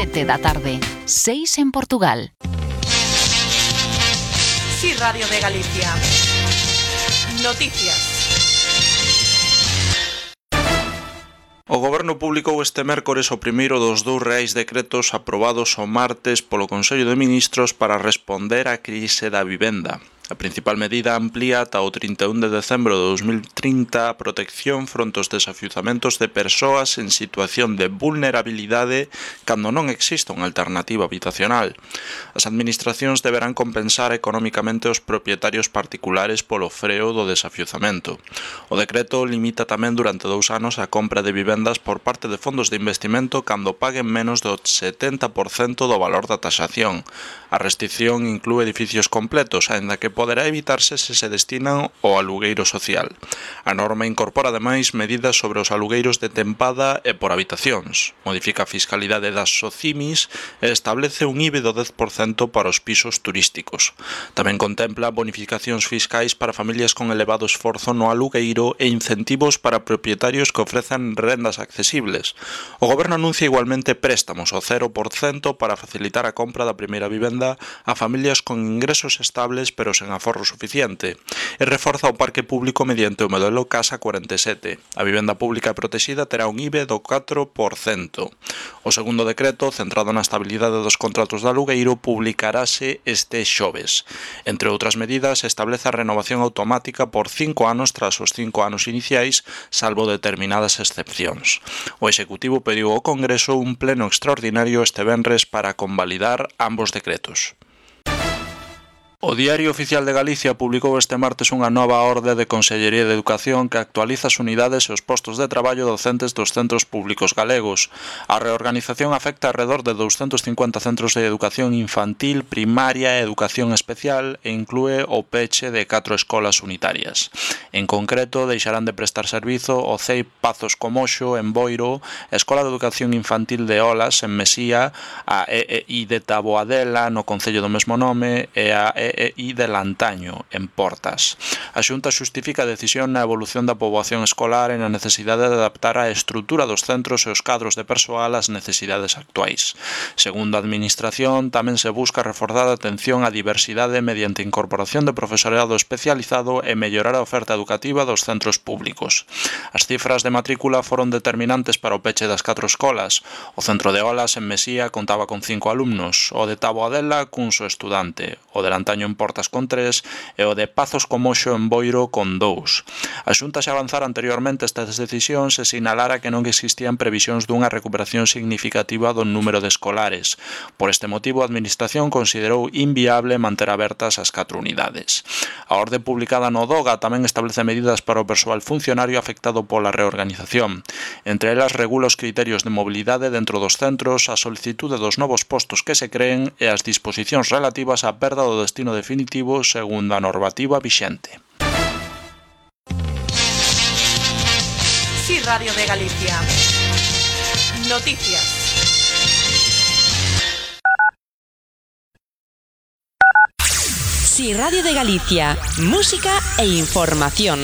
7 da tarde, 6 en Portugal. Sí, Radio de Galicia. Noticias. O Goberno publicou este mércores o primeiro dos 2 reais decretos aprobados o martes polo Consello de Ministros para responder á crise da vivenda. A principal medida amplía ata o 31 de decembro de 2030 a protección fronte aos desafiuzamentos de persoas en situación de vulnerabilidade cando non exista unha alternativa habitacional. As administracións deberán compensar económicamente os propietarios particulares polo freo do desafiuzamento. O decreto limita tamén durante 2 anos a compra de vivendas por parte de fondos de investimento cando paguen menos do 70% do valor da taxación. A restrición inclúe edificios completos, aínda que poderá evitarse se se destinan ao alugueiro social. A norma incorpora ademais medidas sobre os alugueiros de tempada e por habitacións, modifica a fiscalidade das SOCIMIS e establece un IBE do 10% para os pisos turísticos. Tamén contempla bonificacións fiscais para familias con elevado esforzo no alugueiro e incentivos para propietarios que ofrezan rendas accesibles. O Goberno anuncia igualmente préstamos ao 0% para facilitar a compra da primeira vivenda a familias con ingresos estables pero sen aforro suficiente, e reforza o parque público mediante o modelo Casa 47. A vivenda pública protexida terá un IBE do 4%. O segundo decreto, centrado na estabilidade dos contratos de alugueiro, publicarase este xoves. Entre outras medidas, establece a renovación automática por 5 anos tras os 5 anos iniciais, salvo determinadas excepcións. O Executivo pediu ao Congreso un pleno extraordinario este venres para convalidar ambos decretos. O Diario Oficial de Galicia publicou este martes unha nova orde de Consellería de Educación que actualiza as unidades e os postos de traballo docentes dos centros públicos galegos. A reorganización afecta alrededor de 250 centros de educación infantil, primaria e educación especial e inclúe o peche de 4 escolas unitarias. En concreto, deixarán de prestar servizo o CEI Pazos Comoxo en Boiro, a Escola de Educación Infantil de Olas en Mesía, a EEI de Taboadela no concello do mesmo nome e a EEI de Lantaño, en Portas. A Xunta xustifica a decisión na evolución da poboación escolar e na necesidade de adaptar a estrutura dos centros e os cadros de persoal ás necesidades actuais. Segundo a Administración, tamén se busca reforzar a atención á diversidade mediante incorporación de profesorado especializado e mellorar a oferta educativa dos centros públicos. As cifras de matrícula foron determinantes para o peche das 4 escolas. O centro de Olas en Mesía contaba con 5 alumnos, o de Taboadela cun só estudante, o de Lantaño en Portas con 3 e o de Pazos Comoxo en Boiro con 2. A Xunta xa avanzara anteriormente estas decisións e sinalara que non existían previsións dunha recuperación significativa do número de escolares. Por este motivo, a Administración considerou inviable manter abertas as 4 unidades. A orde publicada no DOGA tamén establece medidas para o persoal funcionario afectado pola reorganización. Entre elas, regula os criterios de mobilidade dentro dos centros, a solicitude dos novos postos que se creen e as disposicións relativas á perda do destino definitivo segundo a normativa vixente. Sí, Radio de Galicia. Noticias. Sí, Radio de Galicia. Música e información.